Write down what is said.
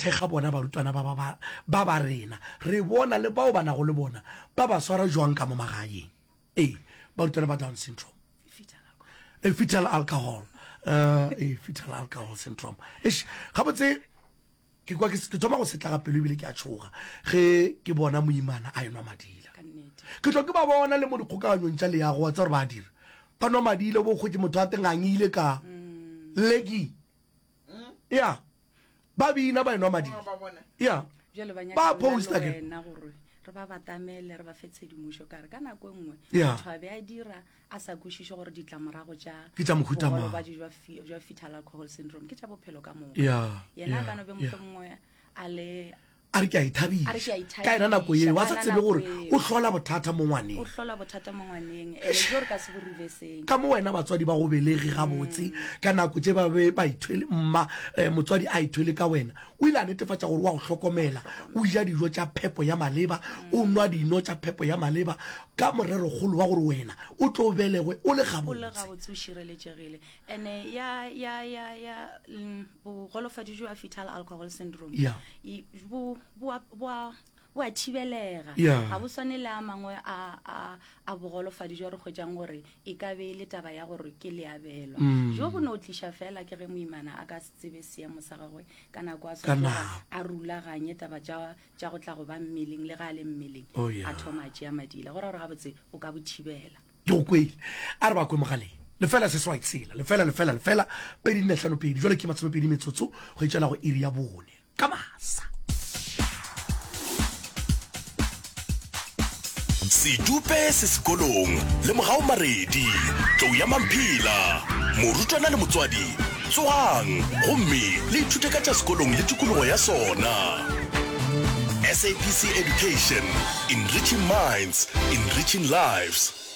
thekga bona barutwana ba ba ba ba ba rena. Re bona le bao ba nago le bona ba ba swara jwang ka mo magaeng. Ee, barutwana ba Down syndrome. E fetal alcohol. Uh, e fetal alcohol syndrome. Eish, gabotse ke kwa ke thoma go setla ga pelo ebile ke a tšhoga ge ke bona moimana a enwa madila. Ke tlo ke ba bona le mo dikgokaganyong tša leago wa tsa gore ba a dira. Ba nwa madila bo kgwetše motho a tengangile ka mm. leki. Ya. Ba bina ba enwa madila. Ya. Ba posta ke. Re ba batamele re ba fe tshedimošo ka re ka nako e nngwe motho a be a dira a sa kwešiše gore ditlamorago tša ke tša mohuta mang bolwetši jwa jwa fetal alcohol syndrome ke tša bophelo ka moka yeah, yena a ka no be mohlomongwe a le a re ke a ithabiša ka yena nako eo a sa tsebe gore o hlola bothata mo ngwaneng o hlola bothata mo ngwaneng ene jo re ka se bo reverseng ka mo wena batswadi ba go belege gabotse mm. ka nako tše ba be ba ithwele mma eh, motswadi a ithwele ka wena o ile a netefatša gore wa go hlokomela o ja dijo tša phepo ya maleba o nwa dino tša phepo ya maleba ka morerokgolo wa gore wena o tlo belegwe o le gabotse. O le gabotse o šireletšegile. Ene ya ya ya ya mm, bogolofadi jwa fetal alcohol syndrome yeah. bo bo bo bo a thibelega yeah. ga bo swane le a mangwe a a a bogolofadi jwa re hwetšang gore e ka be e le taba ya gore ke leabelwa mm. jo bo no tliša fela ke ge moimana a ka se tsebe seemo sa gagwe ka nako a swanetše a rulaganye taba tša tša go tla go ba mmeleng le ga a le mmeleng oh, yeah. a thoma a tšea madila go ra gore gabotse o ka bo thibela. Ke go kwele. A re ba kwe mogaleng. Lefela seswai tshela, lefela, lefela, lefela, 2 4 5 2. Jwale ke masomepedi metsotso go etšela go iri ya bone ka masa. Sedupe se sekolong le Mogau Maredi, Tlou ya Mamphela, morutwana le motswadi, tsogang gomme le ithute ka tša sekolong le tikologo ya sona. SABC Education, enriching minds, enriching lives.